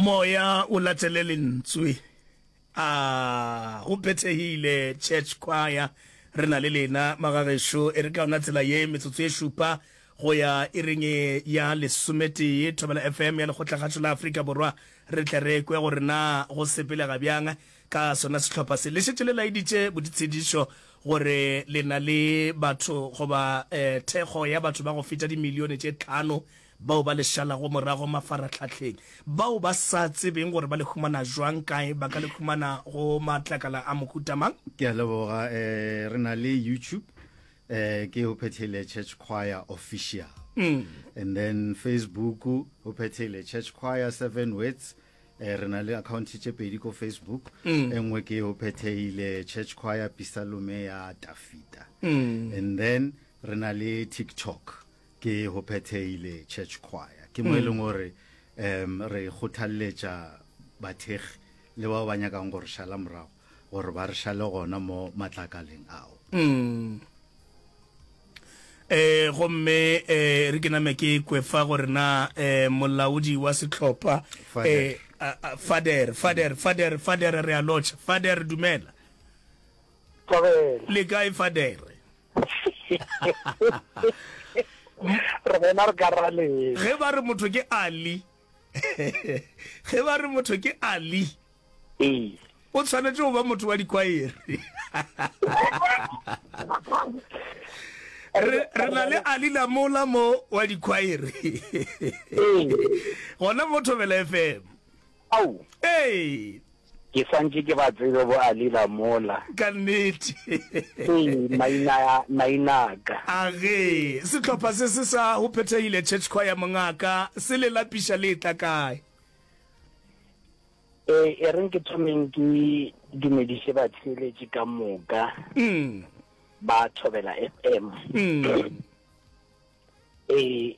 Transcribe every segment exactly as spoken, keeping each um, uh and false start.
Moya o latele lentswe. A go phethegile Church Choir. Re na le lena magagešo e re ka yona tsela ye metsotso e šupa go ya iring ya lesometee Thobela F M ya Lekgotlakgašo la Afrika Borwa re tle re kwe gore na go sepelega bjang ka sona sehlopha se. Le šetše le laeditše boditshedišo gore le na le batho goba eh, thekgo ya batho ba go feta dimilione tše tlhano bao ba le šalago morago mafaratlhahleng bao ba sa tsebeng gore ba le humana jwang kae ba ka le humana go matlakala a mohuta mang. Ke a leboga. um re na le YouTube, um ke Ho Phethehile Church Choir Official, mm. and then Facebook, Ho Phethehile Church Choir Seven Words. eh re na le account tše pedi ko Facebook. Mm. E nngwe ke Ho Phethehile Church Choir Pisalome ya Tafita, Mm. and then re na le TikTok, ke Ho Phethehile Church Choir. Ke mo e leng gore um re kgothalletša bathekgi le bao ba nyakang gore šala morago gore ba re šale gona mo matlakaleng ao. Mm. Eh gomme eh re ke name ke kwe fa gore na eh molaodi wa sehlopha Fader. eh a- a- Fader Fader Fader Fader re a lotšha Fader, dumela. Thobela. Le kae Fader? Re bona re ka ra le. Ge ba re motho ke Ali, ge ba re motho ke Ali, Ee. o tshwanetse go ba motho wa dikwaere. re re na le Ali Lamola mo wa dikwaere Ee. gona mo Thobela F M. Au. Ee. Ke santše ke ba tsebe bo Ali Lamola. Ka nnete. Ee, maina maina a ka. A ge sehlopha se se sa Ho Phethehile Church Choir mongaka se le lapiša le etla kae? Ee, e reng ke thomeng ke dumediše batheeletši ka moka Mm. ba Thobela F M. Mm. Ee,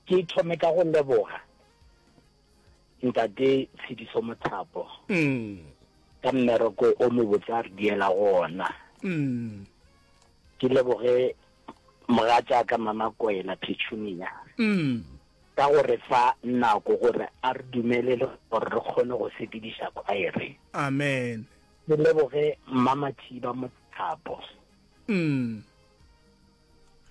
ke thome ka go leboga ntate Tshediso Mothapo Mm. ka mmereko o mobotse a re diela go ona. Mm. Ke leboge mogatšaka Mama Kwela Petunia Mm. ka go re fa nako gore a re dumelele gore re kgone go sepediša khwaere. Amen. Ke leboge Mama Thiba Mothapo Mm.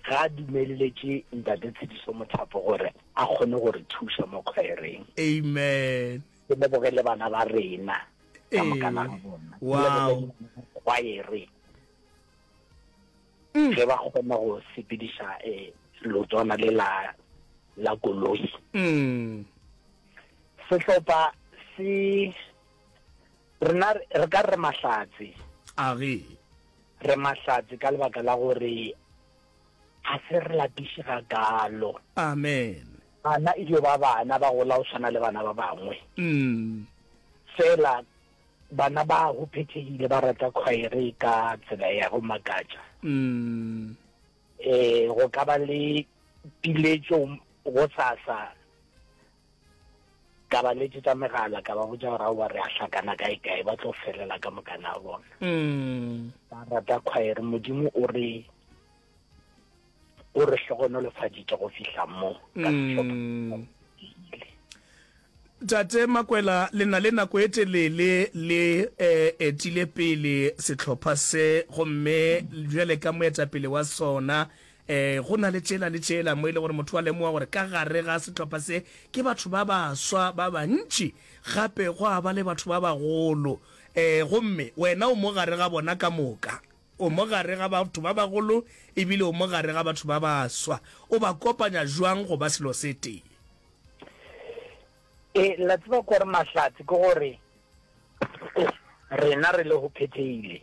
ga a dumelletše ntate Tshediso Mothapo gore a kgone go re thuša mo khwaereng. Amen. Ke leboge le bana ba rena ka mokana Ee. ga bona. Ke Wow. leboge khwaere Mm. ge ba kgona go sepediša eh, leotwana le la la koloi. Mm. Sehlopha se rena re ka re mahlatse, A ge. re mahlatse ka lebaka la gore ga se re lapiše ga kalo. Amen. Bana e dio ba bana ba gola go tshwana le bana ba bangwe. Mm. Fela bana ba Go Phethegile ba rata khwaere ka tsela ya go makatša. Mm. Eh go ka ba le piletšo go sasa ka ba letsetsa megala ka ba botša gore aowa re a hlakana kae kae, ba tlo felela ka mokana a bona. Mm. Ba rata khwaere. Modimo o re o re hlogonolofaditše go fihla mo ka sehlopha. Mm. Tate Makwela, le na le nako e telele le eh, etile pele sehlopha se gomme bjale ka moetapele wa sona eh, go na le tšela le tšela mo e le gore motho wa lemoga gore ka gare ga sehlopha se ke batho ba baswa ba bantši gape go a ba le batho ba bagolo eh, gomme wena o mo gare ga bona ka moka, o mo gare ga batho ba bagolo ebile o mo gare ga batho ba baswa, o ba kopanya jwang go ba selo se tee? E la tseba gore mahlatse ke gore rena re le Go Phethehile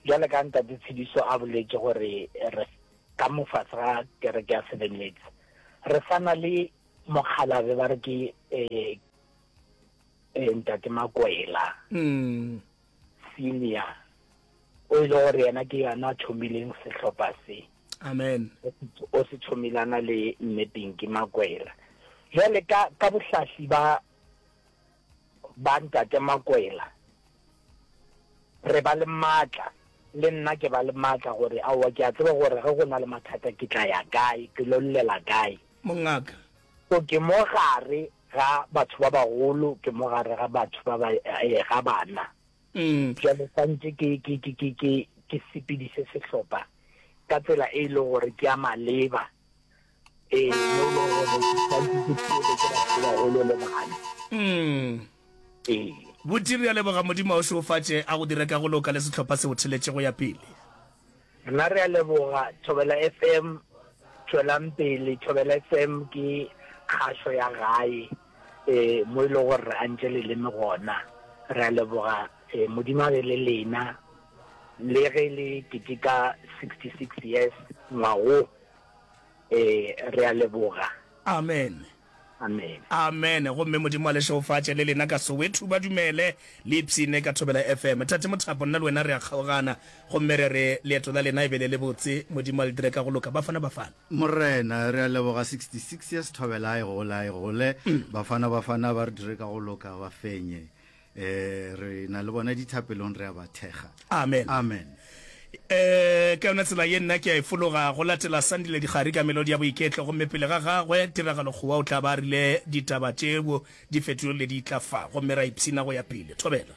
jwale ka ntate Tshediso a boletše gore re ka mo fatshe ga kereke ya Seven Words re sana le mokgalabe ba re ke eh, eh, ntate Makwela Mm. senior, o ile gore yena ke yena a thomileng sehlopha se. Amen. O se thomilana le mme Pinky Makwela. Jwale ka ka bohlahli ba ba ntate Makwela re ba le matla, le nna ke ba le matla gore aowa ke a tseba gore ge go na le mathata ke tla ya kae, ke lo llela kae. Mongaka. So ke mo gare ga batho ba bagolo, ke mo gare ga batho ba ba, eh, ga bana. Bjale swantše ke, ke, ke, ke, ke, ke sepediše sehlopha ka tsela e e lego gore ke ya maleba, ee, mo e lego gore ke swantše ke theeletše batho ba bagolo le bana. Ee. Buti, re a leboga, Modimo a o šegofatše, a go dire ka go loka le sehlopha se o theletše go ya pele. Rena re a leboga Thobela F M, tšwelang pele. Thobela F M ke kgašo ya gae e mo e lego gore re antše leleme gona. Re a leboga, e Modimo a be le lena le ge le keteka sixty six years ngwago. E re a leboga. Amen. Amen. Amen. Gomme Modimo a le šegofatše le lena ka Soweto. Ba dumele le ipshine ka Thobela F M. Tate Mothapo, nna le wena re a kgaogana. Gomme re re leeto la lena e be le lebotse. Modimo a le dire ka go loka. Bafana Bafana. Morena, re a leboga sixty six years Thobela a e gole, a e gole. Bafana Bafana ba re dire ka go loka, ba fenye. Eh, re na le bona dithapelong, re a ba thekga. Amen. Amen. Eh, ka yona tsela ye nna ke a e fologa go latela Sandile Dikgari ka melodi ya boiketlo, gomme pele ga gagwe Tiragalo Kgowa o tla ba a rile ditaba tšeo di fetogile di tla fa, gomme ra ipshina go ya pele. Thobela.